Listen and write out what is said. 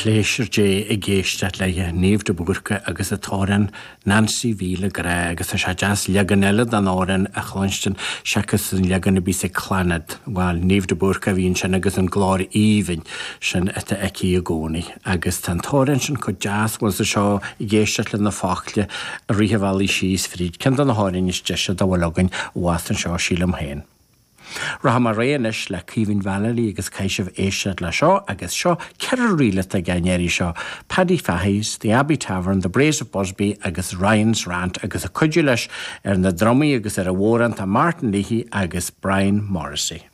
Pléisiúr Dé ag éisteacht léithe, Niamh de Búrca agus an t-amhrán Nancy Mhíle Grá agus tá sé deas leagan eile den amhrán a chluinstin seachas an leagan a bhíos ag Clannad. Bhuel, Niamh de Búrca a bhí ansin agus an glór aoibhinn sin atá aici i gcónaí. Agus tá an t-amhrán sin chomh deas, bhuel sa seo ag éisteacht le na focla i rith an bhealaigh síos fríd, ceann de na hamhráin is deise dá bhfuil againn abhus anseo, sílim féin. Rachaidh mé ar aghaidh anois le Caoimhín Vallely agus caithfidh sibh éisteacht le seo agus seo 4 ríl atá aige an iarraidh seo, Paddy Fahy's, The Abbey Tavern, The Braes of Busby agus Ryan's Rant agus ag cuidiú leis ar na drumaí agus ar an bhodhrán tá Martin Leahy agus Brian Morrissey.